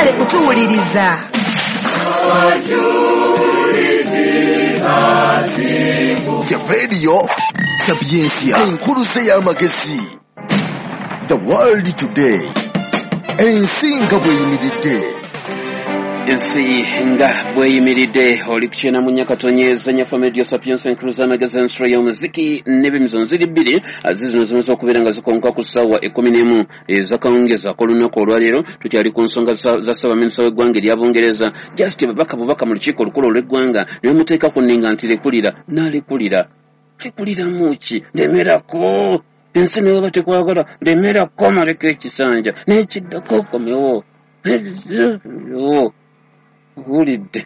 Mwebale kutuwuliriza. The Radio Sapientia, enkuluze y'amagezi. The World Today, ensi nga bw'eyimiridde. Ensi nga bweyimiridde, oli kukyena mu nyakatonyeza nyafa medio Sapientia, enkuluze y'amagezi, ensolo y'omuziki n'ebimizo nziri bbiri zizino zimaze okubeera nga zikonka ku ssaawa 11 ezakawungezi ak'olunaku olwaleero. Tukyali ku nsonga za ssaabaminisita w'eggwanga erya Bungereza. Just babaka bubaka mu lukiiko olukulu olw'eggwanga ne bamuteeka ku nninga nti lekulira, n'alekulira. Lekuliramu ki? Lemerako. Ensi ne bweba tekwagala, lemerako maleko ekisanja n'ekiddako okomewo. Owulidde.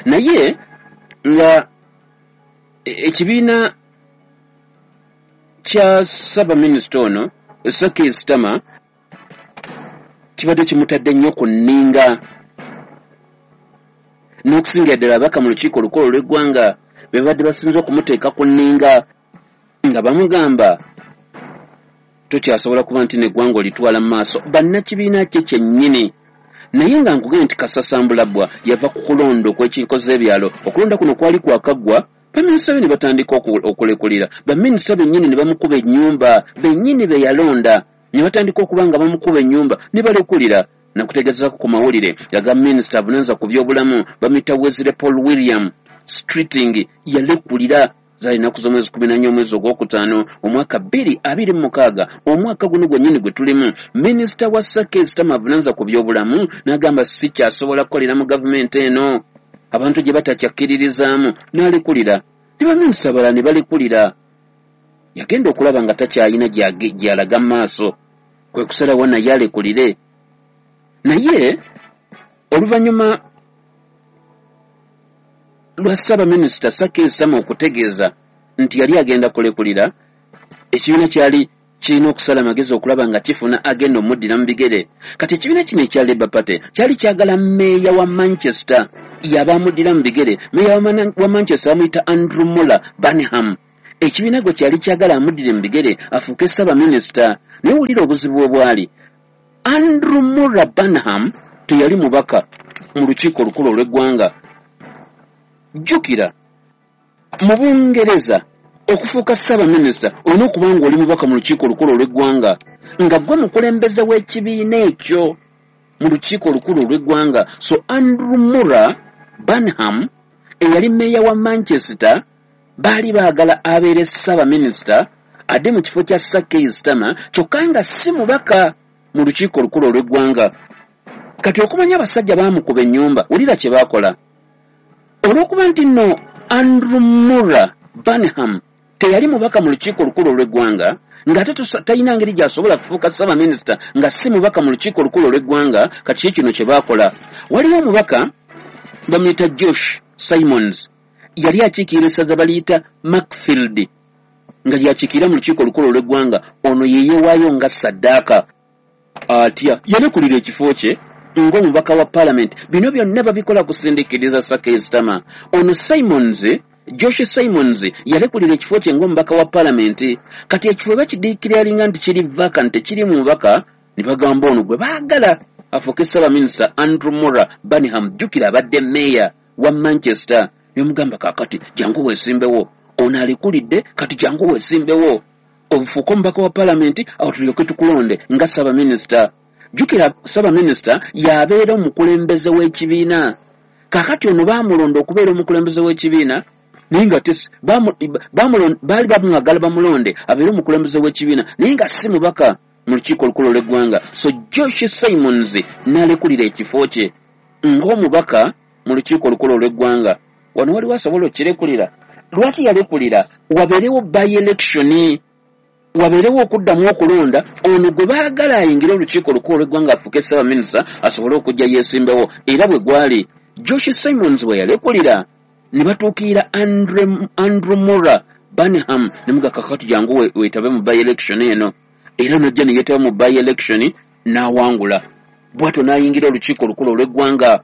Naye nga ekibiina kya ssaabaminisita ono Sir Keir Starmer kibadde kimutadde nnyo ku nninga, n'okusingira ddala ababaka mu lukiiko olukulu olw'eggwanga be babadde basinze okumuteeka ku nninga nga bamugamba tokyasobola kuba nti n'eggwanga olitwala mu maaso, bannakibiina kye kyennyini. Naye nga nkugambye nti kasasambulabbwa yava ku kulonda okw'enkiiko z'ebyalo. Okulonda kuno kwali kwakaggwa, baminisita be ne batandika okulekulira. Baminisita bennyini ne bamukuba ennyumba, bennyini be yalonda ne batandika okuba nga bamukuba ennyumba ne balekulira. Nakutegeezaako ku mawulire aga minisita avunaanyizibwa ku byobulamu bamuyita Wesley Paul William Streeting, yalekulira zaali nnaku z'omwezi 14 omwezi ogwokutaano omwaka 2026, omwaka guno gwennyini gwe tulimu. Minisita wa Sir Keir Starmer avunaanyizibwa ku byobulamu n'agamba sikyasobola kukolera mu gavumenti eno, abantu gye batakyakkiririzaamu, n'alekulira. Ne baminisita abalala ne balekulira. Yagenda okulaba nga takyalina gy'alaga mu maaso, kwe kusalawo naye alekulire. Naye oluvannyuma lwa ssaabaminisita Sir Keir Starmer okutegeeza nti yali agenda kulekulira, ekibiina kyali kirina okusala amagezi okulaba nga kifuna agenda omuddira mu bigere. Kati ekibiina kino ekya Labour Party kyali kyagala mmeeya wa Manchester yaba amuddira mu bigere. Mmeeya wa Manchester bamuyita Andrew Muller Burnham. Ekibiina gwe kyali kyagala amuddire mu bigere afuuke ssaabaminisita. Naye wulira obuzibu obwali. Andrew Muller Burnham teyali mubaka mu lukiiko olukulu olw'eggwanga. Jjukira mu Bungereza okufuuka ssaabaminisita olina okuba ng'oli mubaka mu lukiiko olukulu olw'eggwanga, nga ggwe mukulembeze w'ekibiina ekyo mu lukiiko olukulu olw'eggwanga. So Andrew Muller Burnham eyali mmeeya wa Manchester baali baagala abeere ssaabaminisita adde mu kifo kya Sir Keir Starmer, kyokka nga si mubaka mu lukiiko olukulu olw'eggwanga. Kati okumanya abasajja baamukuba ennyumba, wulira kye baakola. Olw'okuba nti nno Andrew Muller Burnham teyali mubaka mu lukiiko olukulu olw'eggwanga, ng'ate talina ngeri gy'asobola kufuuka ssaabaminisita nga si mubaka mu lukiiko olukulu olw'eggwanga, kati kye kino kye baakola. Waliwo omubaka bamuyita Josh Simons, yali akiikirira essaza baliyita Macfield, nga yakiikirira mu lukiiko olukulu olw'eggwanga. Ono ye yeewaayo nga ssaddaaka. Atya yalekulira ekifo kye ng'omubaka wa paalamenti. Bino byonna babikola kusindiikiriza Sir Keir Starmer. Ono Simons, Josh Simons, yalekulira ekifo kye ng'omubaka wa paalamenti. Kati ekifo bakidiikiralinga nti kiri vacant, tekiri mu mubaka, ne bagamba ono gwe baagala afuuke ssaabaminisita Andrew Muller Burnham. Jjukira abadde mmeeya wa Manchester. Ne bamugamba kaakati jangu weesimbewo. Ono alekulidde, kati jangu weesimbewo ofuuke omubaka wa paalamenti, awo tulyoke tukulonde nga ssaabaminisita. Jjukira ssaabaminisita y'abeera omukulembeze w'ekibiina. Kaakati ono baamulonda okubeera omukulembeze w'ekibiina, naye nga baali bamwagala bamulonde abeere omukulembeze w'ekibiina, naye nga si mubaka mu lukiiko olukulu olw'eggwanga. So Josh Simons n'alekulira ekifo kye ng'omubaka mu lukiiko olukulu olw'eggwanga. Wano waliwo asobola okukirekulira. Lwaki yalekulira? Wabeerewo by-election, wabeerewo okuddamu okulonda ono gwe baagala ayingire olukiiko olukulu olw'eggwanga afuuke ssaabaminisita asobole okujja yeesimbewo. Era bwe gwali Josh Simons bwe yalekulira, ne batuukirira Andrew Muller Burnham ne mugamba kakati jangu weetabe mu by-election eno. Era n'ajja ne yeetaba mu by-election n'awangula, bw'atyo n'ayingira olukiiko olukulu olw'eggwanga.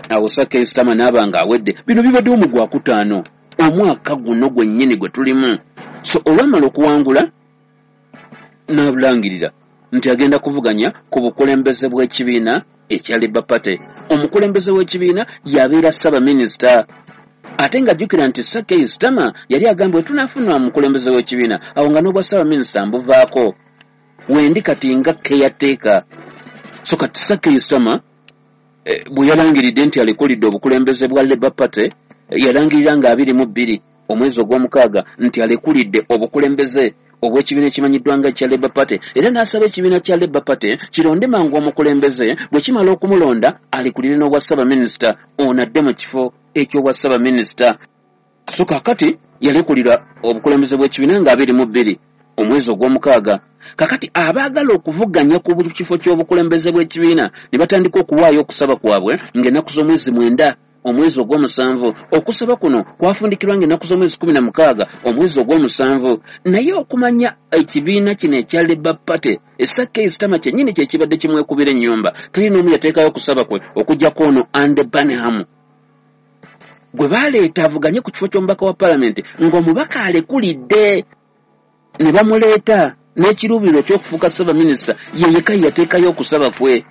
Awo Sir Keir Starmer n'aba ng'awedde. Bino bibaddewo mu gwakutaano omwaka guno gwennyini gwe tulimu. So olwamala okuwangula n'abulangirira nti agenda kuvuganya ku bukulembeze bw'ekibiina ekya Labour Party. Omukulembeze w'ekibiina yabeera ssaabaminisita, ate ng'ajjukira nti Sir Keir Starmer yali agambye wetunaafuna omukulembeze w'ekibiina awo nga n'obwa ssaabaminisita mbuvaako, wendi kati nga caretaker. So kati Sir Keir Starmer bwe yalangiridde nti alekulidde obukulembeze bwa Labour Party, yalangirira nga 22 omwezi ogw'omukaaga nti alekulidde obukulembeze obw'ekibiina ekimanyiddwa nga ekya Labour Party, era n'asaba ekibiina kya Labour Party kironde mangu omukulembeze, bwe kimala okumulonda alekulire n'obwa ssaabaminisita, ono adde mu kifo eky'obwa ssaabaminisita. So kaakati yalekulira obukulembeze bw'ekibiina nga 22 omwezi ogw'omukaaga. Kakati abaagala okuvuganya ku kifo ky'obukulembeze bw'ekibiina ne batandika okuwaayo okusaba kwabwe ng'ennaku z'omwezi 9 omwezi ogw'omusanvu. Okusaba kuno kwafundikirwa ng'ennaku z'omwezi 16 omwezi ogw'omusanvu. Naye okumanya ekibiina kino ekya Labour Party, Sir Keir Starmer kyennyini kye kibadde kimwekubira ennyumba, teri n'omu yateekayo okusaba kwe okuggyako ono Andy Burnham gwe baleeta avuganye ku kifo ky'omubaka wa paalamenti ng'omubaka alekulidde, ne bamuleeta n'ekiruubiriro eky'okufuuka ssaabaminisita, ye yekka yateekayo okusaba kwe.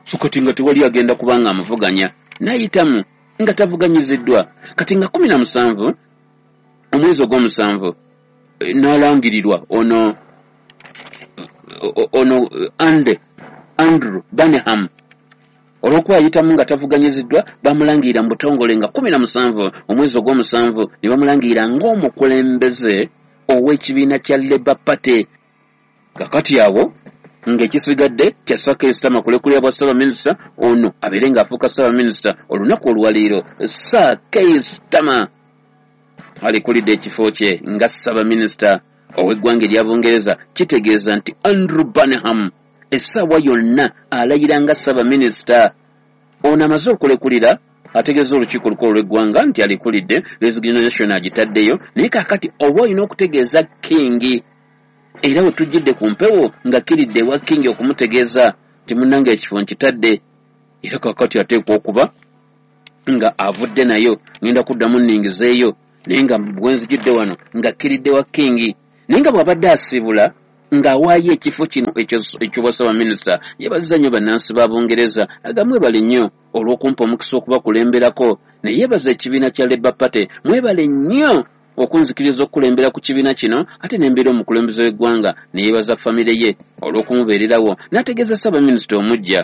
So kati nga tewali agenda kuba nga amuvuganya, n'ayitamu nga tavuganyiziddwa. Kati nga 17 omwezi ogw'omusanvu n'alangirirwa ono Andrew Burnham. Olw'okuba ayitamu nga tavuganyiziddwa, bamulangirira mu butongole nga 17 omwezi ogw'omusanvu, ne bamulangirira ng'omukulembeze ow'ekibiina kya Labour Party. Kakati awo ng'ekisigadde kya Sir Keir Starmer kulekulira bwa ssaabaminisita, ono abeere ng'afuuka ssaabaminisita olunaku olwaleero. Sir Keir Starmer alekulidde ekifo kye nga ssaabaminisita ow'eggwanga erya Bungereza. Kitegeeza nti Andrew Burnham essaawa yonna alayira nga ssaabaminisita. Ono amaze okulekulira, ategeeza olukiiko olukulu olw'eggwanga nti alekulidde, resignation agitaddeyo, naye kaakati oba olina okutegeeza King. Era we tujjidde ku mpewo nga kiridde ewa King okumutegeeza nti munnange ekifo nkitadde, era kaakati ateekwa okuba nga avudde nayo, ngenda kuddamu nningizeeyo, naye nga bwe nzijidde wano nga kiridde wa King. Naye nga bw'abadde asiibula ng'awaayo ekifo kino eky'obwa ssaabaminisita, yeebazizza nnyo bannansi ba Bungereza, aga mwebale nnyo olw'okumpa omukisa okubakulemberako, ne yeebaza ekibiina kya Labour Party, mwebale nnyo okunzikiriza okukulembera ku kibiina kino ate ne mbeera omukulembeze w'eggwanga, ne yeebaza famire ye olw'okumubeererawo, n'ategeeza ssaabaminisita omuggya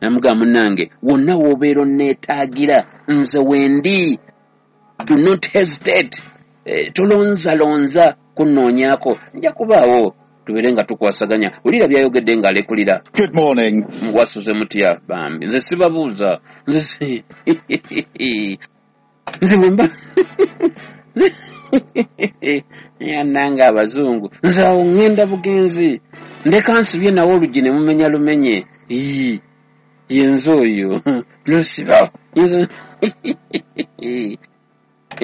namugamba munnange wonna w'obeera onneetaagira nze wendi, do not hesitate, tolonzalonza kunnoonyaako, nja kubaawo tubeere nga tukwasaganya. Wulira by'ayogedde ng'alekulira. Good morning. Mwasuze mutya bambi? Nze sibabuuza, nze bwemba yannanga abazungu, nze awo ŋŋenda bugenzi, ndeka nsibye nawo oluggi ne mumenya lumenye. Yenze oyo nosiba.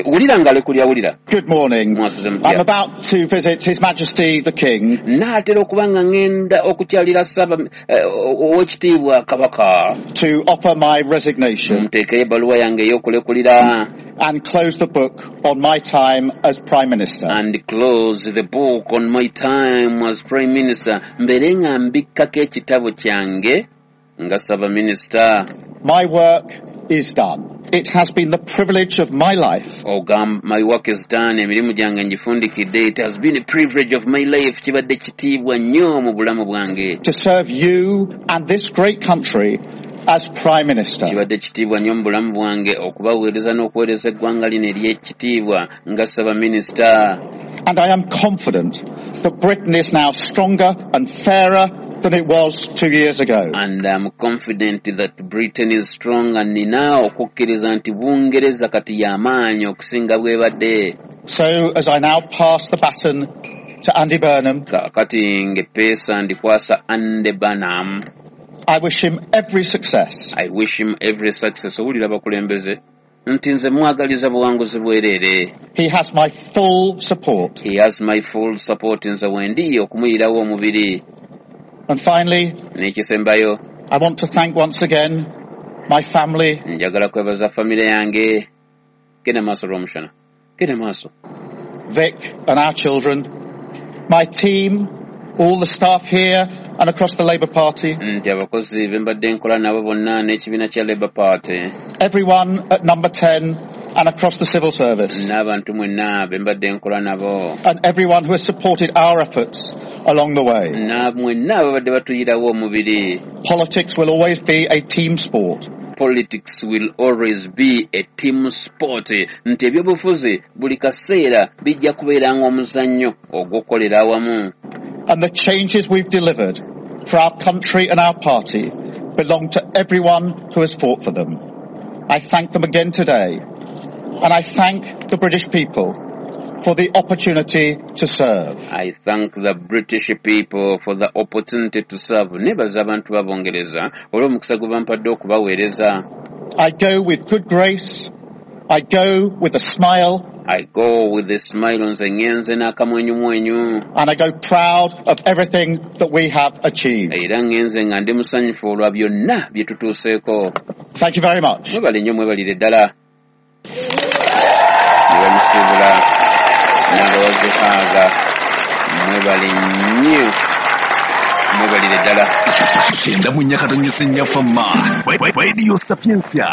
Wulira ng'alekulira, wulira. Good morning. Mwasuze mutya? I'm about to visit His Majesty the King. Naatera okuba nga ŋŋenda okukyalira ow'ekitiibwa Kabaka. To offer my resignation. Nteekeyo ebbaluwa yange ey'okulekulira. And close the book on my time as Prime Minister. And close the book on my time as Prime Minister. Mbeere nga mbikkako ekitabo kyange nga ssaabaminisita. My work is done. It has been the privilege of my life. My work is done. Emirimu gyange ngifundikidde. It has been a privilege of my life. Kibadde kitiibwa nnyo mu bulamu bwange. To serve you and this great country as Prime Minister. Kibadde kitiibwa nnyo mu bulamu bwange okubaweereza n'okuweereza eggwanga lino ery'ekitiibwa nga ssaabaminisita. And I am confident that Britain is now stronger and fairer than it was 2 years ago. And I'm confident that Britain is strong, and nina okukkiriza nti Bungereza kati y'amaanyi okusinga bw'ebadde. So as I now pass the baton to Andy Burnham, Kaakati ng'eppeesa ndikwasa Andy Burnham. I wish him every success. I wish him every success. Owulira abakulembeze nti nze mwagaliza buwanguzi bwereere. He has my full support. He has my full support. Nze wendi okumuyirawo omubiri. And finally, n'ekisembayo, I want to thank once again my family. Njagala kwebaza famire yange. Genda maaso Rwomushana. Genda maaso. Vic and our children, my team, all the staff here and across the Labour Party. Nti abakozi be mbadde nkola nabo bonna n'ekibiina kya Labour Party. Everyone at number 10 and across the civil service. N'abantu mwenna be mbadde nkola nabo. And everyone who has supported our efforts along the way. Na mwenna ababadde batuyirawo omubiri. Politics will always be a team sport. Politics will always be a team sport. Nti ebyobufuzi buli kaseera bijja kubeera ng'omuzannyo ogw'okukolera awamu. And the changes we've delivered for our country and our party belong to everyone who has fought for them. I thank them again today, and I thank the British people for the opportunity to serve. I thank the British people for the opportunity to serve. Nebaza abantu ba Bungereza olw'omukisa gwe bampadde okubaweereza. I go with good grace. I go with a smile. I go with a smile, nze ngenze n'akamwenyumwenyu. And I go proud of everything that we have achieved. Era ngenze nga ndi musanyufu olwa byonna bye tutuuseeko. Thank you very much. Mwebale nnyo, mwebalire ddala. Nebamusiibula n'abawazihaaga, mwebale nnyo, mwebalire ddala. 94.4 Fama Radio Sapientia,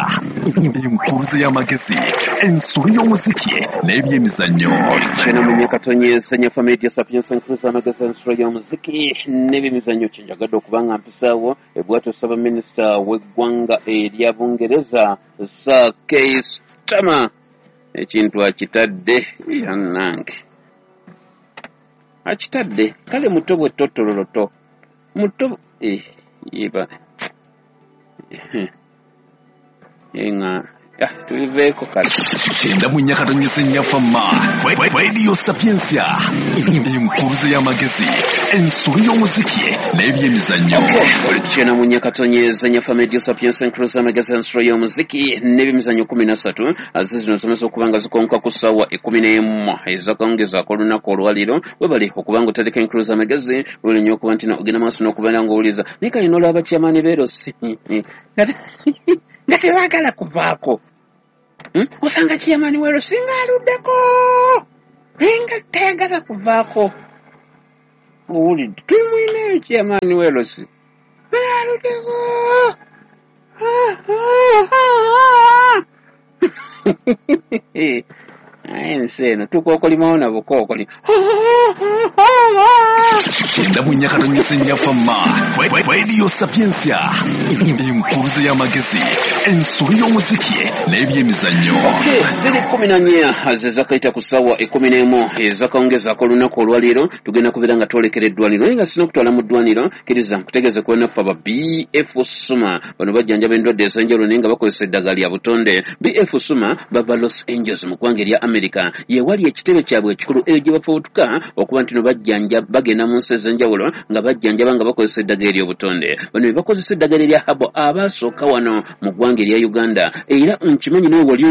enkuruze y'amagezi, ensolo y'omuziki n'ebyemizannyo. 94.4 Fama Radio Sapientia, enkuruze y'amagezi, ensolo y'omuziki n'ebyemizannyo. Kyenjagadde okuba nga mpisaawo ebwatyo Ssaabaminisita w'eggwanga erya Bungereza Sir Keir Starmer ekintu akitadde yannange, akitadde kale muto bwe totololoto muto yeba enga tubiveeko kale. 94.4 Fama Radio Sapientia, enkuruze y'amagezi, ensolo y'omuziki n'ebyemizannyo. 94.4 Fama Radio Sapientia, enkuruze y'amagezi, ensolo y'omuziki n'ebyemizannyo 13 aze zino zimaze okuba nga zikonka ku ssaawa 11 ezakawungezaako olunaku olwaleero. Webale okuba nga otandika enkuruze y'amagezi, webale nnyo okuba nti ogenda maaso n'okubeera ng'owuliriza. Naye kale n'olaba chairman Berosi nga tebaagala kuvaako. Osanga chairman Werosi ng'aluddeko nga tayagala kuvaako. Owulidde, tumwineyo chairman Werosi aluddeko. Naye ensi eno tukookolimawo na bukookoli. 94.4 Fama Radio Sapientia, enkuruze y'amagezi, ensolo y'omuziki n'ebyemizannyo. Ziri 14 zezakayita ku ssaawa 11 ezakawungezaako olunaku olwaleero. Tugenda kubeera nga twolekera eddwaniro, naye nga sina okutwala mu ddwaniro, kkiriza nkutegeeze ku bannaffe aba BF Suma. Bano bajjanjaba endwadde ez'enjawulo naye nga bakozesa eddagala lya butonde. BF Suma bava Los Angeles mu ggwanga erya America, ye wali ekitebe kyabwe ekikulu eyo gye bafubutuka okuba nti no bajjanja bagenda mu nsi ez'enjawulo nga bajjanjaba nga bakozesa eddagala ery'obutonde. Bano be bakozesa eddagala erya habo abaasooka wano mu ggwanga erya Uganda, era nkimanyi nawe wali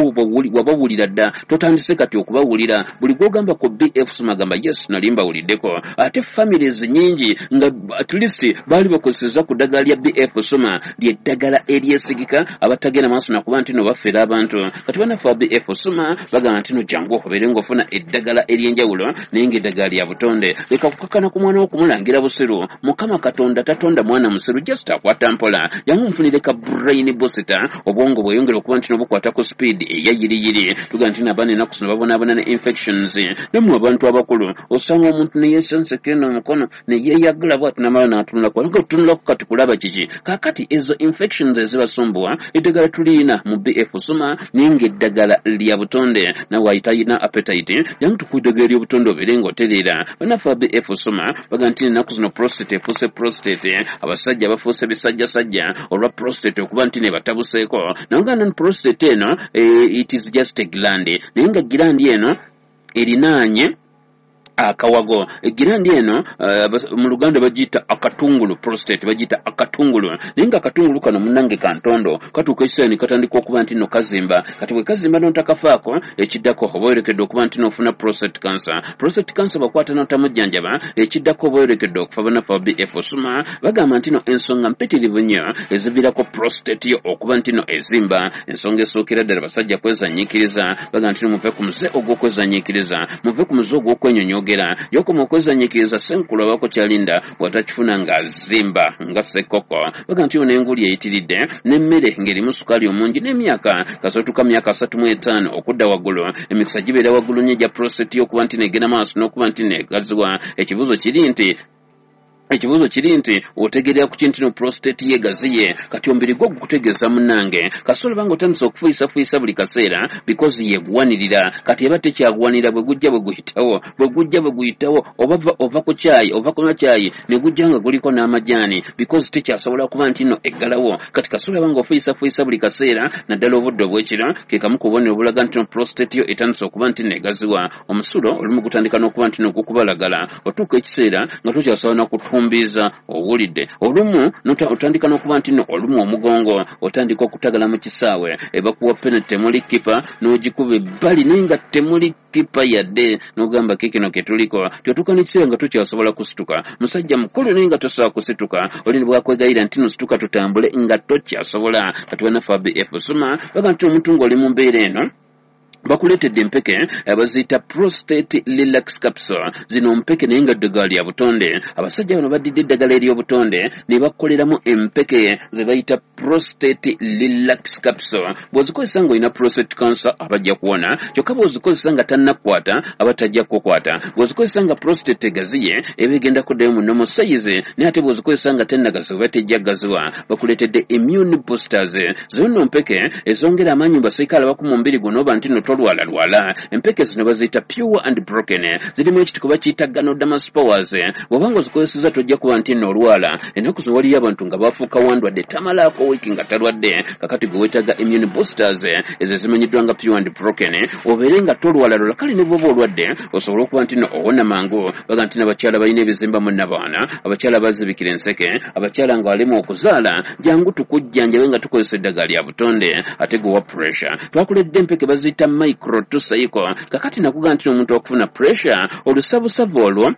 wabawulira dda, totandise kati okubawulira. Buli gw'ogamba ku BF Suma agamba yes, nali mbawuliddeko. Ate families nnyingi nga at least baali bakozesezza ku ddagala lya BF Suma, ly'eddagala eryesigika abatagenda maaso nakuba nti no bafera abantu. Kati bannaffe aba BF Suma bagamba nti no jangu obeere ng'ofuna eddagala ery'enjawulo naye ng'eddagala lya butonde. Leka kukakana ku mwana wo kumulangira busiru. Mukama Katonda tatonda mwana musiru, just akwata mpola. Jangu nfunire ka brain booster, obwongo bweyongera okuba nti no bukwata ku speed eyayiriyiri. Tugamba nti n'abaana ennaku zino babonaabona ne infections. Nammwe abantu abakulu osanga omuntu ne yeesenseka eno omukono ne yeeyagala bw'ati n'amala n'atunulako, nga otunulako kati kulaba kiki. Kaakati ezo infections ezibasumbuwa, eddagala tuliyina mu BF Suma naye ng'eddagala lya butonde. Nawe ayitalina appetite, jangu tukuwa eddagala ery'obutonde obeere ng'otereera. Bannaffe aba BF Suma bagamba nti ennaku zino prostate efuuse prostate, abasajja bafuuse bisajjasajja olwa prostate okuba nti nebatabuseeko. Naye ngamba nti prostate eno it is just a gland, naye nga gland eno erinaanye akawago. Gland eno mu Luganda bagiyita akatungulu, prostate bagiyita akatungulu, naye nga akatungulu kano munnange kantondo katuuka ekiseera ne katandika okuba nti nno kazimba. Kati bwe kazimba n'otakafaako, ekiddako oba oyolekedde okuba nti n'ofuna prostate cancer. Prostate cancer bakwata n'otamujjanjaba, ekiddako oba oyolekedde okufa. Bannaffe aba BF Suma bagamba nti no ensonga mpitirivu nnyo eziviirako prostate yo okuba nti no ezimba. Ensonga esookera ddala, basajja kwezanyiikiriza. Bagamba nti no muve ku muze ogw'okwezanyiikiriza, muve ku muze ogw'okwenyonyogereza. Byogera yokoma okwezanyiikiriza. Senkulu abako kyalinda bw'atakifuna ng'azimba nga ssekkoko. Baga nti ono enguli eyitiridde n'emmere ng'erimu sukaali omungi n'emyaka. Kasootuka myaka 35 okudda waggulu, emikisa gibeera waggulu nnyo egya prostate okuba nti negenda maaso n'okuba nti negaziwa. Ekibuuzo kiri nti otegerera ku kintu no prostate yegaziye? Kati omubiri gwo gukutegeeza, munnange. Kasita olaba nga otandise okufuyisafuyiisa buli kaseera, because yeguwanirira. Kati eba tekyaguwanirira, bwe gujja bwe guyitawo, bwe gujja bwe guyitawo, oba ova ku kyayi, ova kunywa kyayi ne gujja nga guliko n'amajaani, because tekyasobola kuba nti nno eggalawo. Kati kasita olaba nga ofuyisafuyiisa buli kaseera, naddala obudde obw'ekiro, ke kamu ku bubonero obulaga nti no prostate yo etandise okuba nti negaziwa. Omusulo olumu gutandika n'okuba nti nogukubalagala, otuuka ekiseera nga tokyasobola nakutumbiiza, owulidde? Olumu otandika n'okuba nti no olumu omugongo, otandika okutagala mu kisaawe, ebakuwa penalty temuli kipa, n'ogikuba ebbali naye nga temuli kipa yadde, n'ogamba kikino ketuliko. Tyotuuka n'ekiseera nga tokyasobola kusituka, musajja mukulu naye nga tosobola kusituka. Oli ne bwakwegayira nti no situka tutambule, nga tokyasobola. Kati bannaffe abf suma baga nti omuntu ng'oli mu mbeera eno, bakuleetedde empeke baziyita Prostate Relax Capsule. Zino mpeke naye nga ddagala lya butonde. Abasajja bano baddidde eddagala ery'obutonde ne bakoleramu empeke ze bayita Prostate Relax Capsule. Bw'ozikozesa ng'olina prostate cancer, abajja kuwona. Kyokka bw'ozikozesa nga tannakukwata, aba tajja kukukwata. Bw'ozikozesa nga prostate egaziye, eba egenda kuddayo mu normal size. Naye ate bw'ozikozesa nga tennagaziwa, oba tejja gaziwa. Bakuleetedde immune boosters. Zino nno mpeke ezongera amaanyi mu basirikale abaku mu mubiri guno, oba nti nno tolwalalwala. Empeke zino baziyita Pure and Broken, zirimu ekitiko bakiyita Ganoderma spores. Bw'oba nga ozikozeseza, tojja kuba nti nno olwala. Ennaku zino waliyo abantu nga bafuuka wandwadde, tamalaako wiiki nga talwadde. Kakati gwe weetaaga immune boosters ezo ezimanyiddwa nga Pure and Broken, obeere nga tolwalalwala. Kale ne bw'oba olwadde, osobole okuba nti nno owona mangu. Baga nti n'abakyala balina ebizimba mu nnabaana, abakyala bazibikira enseke, abakyala nga balemu okuzaala, jangu tukujjanjabe nga tukozesa eddagala lya butonde. Ate gwe wa pressure, twakuledde empeke baziyita Micro Tusaiko. Kakati nakuga nti omuntu okufuna pressure, olusavusavu olwo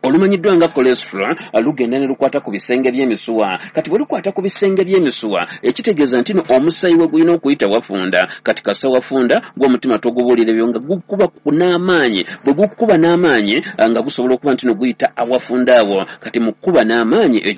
olumanyiddwa nga cholesterol lugenda ne lukwata ku bisenge by'emisuwa. Kati bwe lukwata ku bisenge by'emisuwa, ekitegeeza nti no omusaayi we gulina okuyita wafunda. Kati kasita wafunda, gw'omutima togubuulira ebyo nga gukuba n'amaanyi. Bwe gukuba n'amaanyi, nga gusobola okuba nti no guyita awafunda awo. Kati mu kukuba n'amaanyi eyo